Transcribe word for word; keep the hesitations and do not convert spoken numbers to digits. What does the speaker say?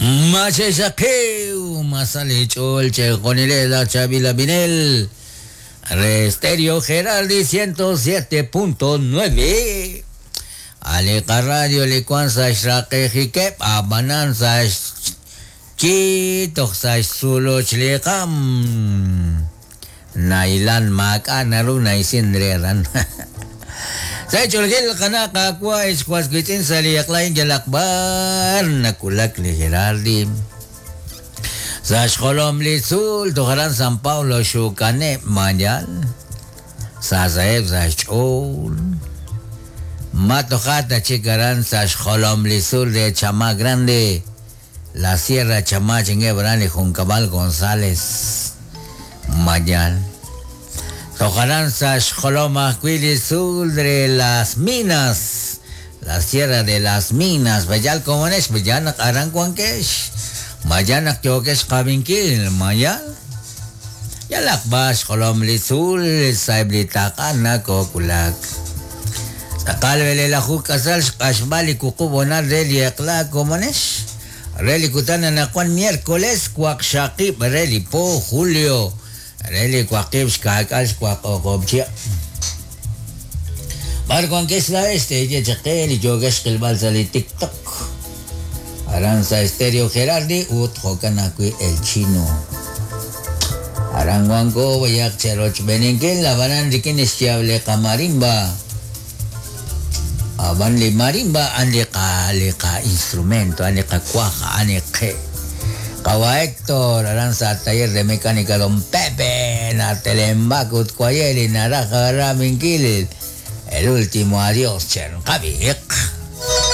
Machesakiw, masalichol, chejonile la Chavila Vinel. Re Estéreo Geraldi ciento siete punto nueve. Aleka Radio Licuanza Xraqejikep, Abananza Chitox Suluchliqam. Nailan Maka Naru Naisindreran. Sa chulgil kana kakwa iskwasquitin sa liyaklain jalakbar nakulak li Geraldi. Sa xkolom li sul tojaran San Paulo xukane mayal. Sa saeb sa chol. Matojata chikaran sa xkolom li sul de Chamá Grande. La Sierra Chamá chingebran y Juncabal González. Mayal. Tojarán sa xkoloma sul de las minas, la sierra de las minas, bayal comones, bayanak arancuanquesh, mayanak yokesh kabinkil, mayal. Yalak bas xolom lisul, saiblitaka kokulak. Sakalvele la jukasal xkashbali kukubona reliekla comones. Relikutana nakuan miércoles, cuaxaqib, relipo, julio. Reli cuaqib xkakal xkuaqoqobchia. Barco que es la este, yechaqel y yogesh kilbalsa li TikTok. Aranza Estéreo Gerardi, ut jokanakui el chino. Aranguanco, bayak cheroch beninquil, la banan rikin ischiable kamarimba. Aban li marimba, an li ka, li ka instrumento, an li ka cuaja, an li que. Kawa Héctor, Aranza Taller de Mecánica Don Pepe, na Telembacut, Cuayeli, Naraja, Raminquil, el último adiós, Chernkavik.